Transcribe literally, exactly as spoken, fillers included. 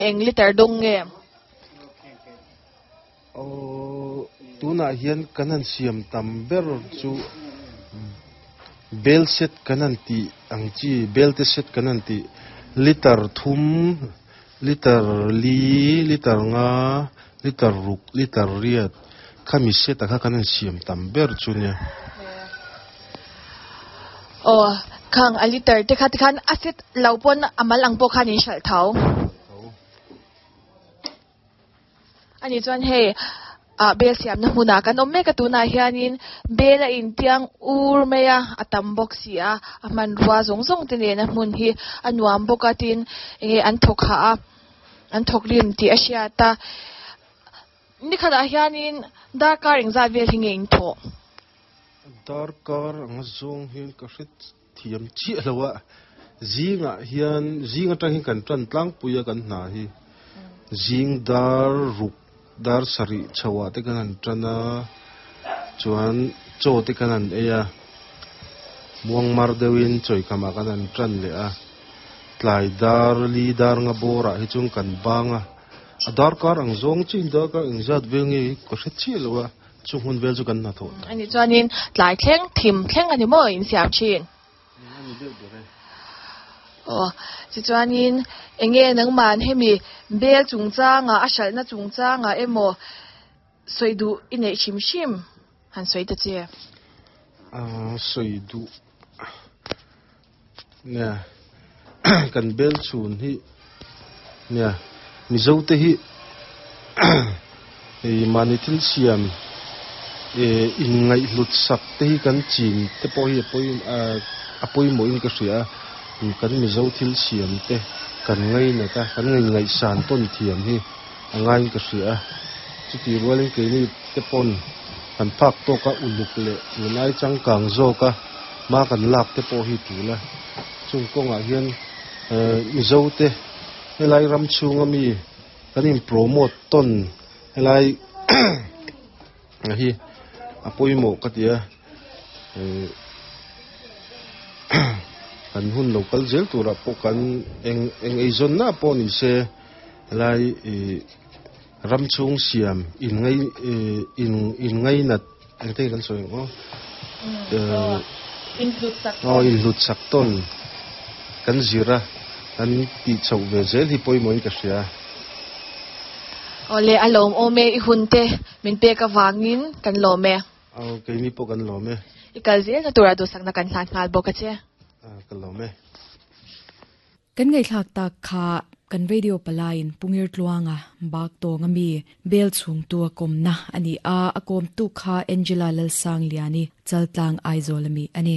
Eng liter dawng nge? Aw, tunah hian kan han siam tam ber chu bel set kan han tih ang chi, belte set kan han tih, liter thum, liter li, liter nga, liter ruk, liter riat, khami set-a kha kan han siam tam ber chu nia. Aw, khang a liter te kha tikhan a set lo pawn a mal ang pawh khan in hralh tho. Ani chuan hei ah bel siamna hmunah kan awm mek a, tunah hianin bel a intiang ur mai a, a tam bawk si a, a hmanrua zawng zawng te nena hmun hi a nuam bawk a, tin enge an thawk hah a, an thawk rim tih a hriat a. Nikhatah hianin darkar engzat vel hi nge in thawh? Darkar anga zawng hian ka hre thiam chiah lo a, zingah hian zing atang hian kan tan tlangpui a kan hna hi. Zing dar ruk dar sarih chhoah te kan han tan a, chuan chaw te kan han ei a, muangmar deuhin chawikhamah kan han tan leh a, tlai dar li dar nga bawrah hi chuan kan bang a, a darkar ang zawng chiin darkar engzat vel nge hi ka hre chiah lo a, chung hun vel chu kan hna thawh ta. Ani chuanin tlai thleng thim thleng a ni maw insiam thin? A ni deuh ber e. Aw, tichuanin enge nangman hemi bel chungchanga a hralhna chungchanga emaw sawi duh i neih hrim hrim han sawi ta che. Aaa sawi duh nia kan bel chhun hi nia Mizo te hi hei mahni thil siam eh inngaihhlut sak te hi kan chin te pawh hi a pawi ah a pawimawhin ka hria a, kan Mizo thil siam te kan ngainat a, kan ngaihsan tawn thiam hi a ngaiin ka hria a, chutih rualin keini te pawn kan phak tawk a uluk leh tunlai changkang zawk a hma kan lak te pawh hi tul a, chung kawngah hian eh Mizo te helai ram chhunga mi kan in promote tawn helai hi a pawimawh ka ti a eh kan hun lo kal zel turah pawh kan eng eng eizawnna pawh ni se helai ih ram chhung siam in ngai ih in in ngainat engte kan sawi ang aw eh aw inhlut sak tawn kan zir a kan tih chhoh ve zel hi pawimawhin ka hria. Awle a lawm awm e, i hun te min pek avangin kan lawm e. Aw keini pawh kan lawm e. I kal zelna tura duhsakna kan hlan nghal bawk a che. Ah ka lawm e. Kan ngaihthlak tak kha kan radio palaiin Pungir Tluanga bak tawng ami bel chhungtu a kawmna a ni a, a kawmtu kha Angela Lalsangliani Chaltlang Aizawl ami a ni.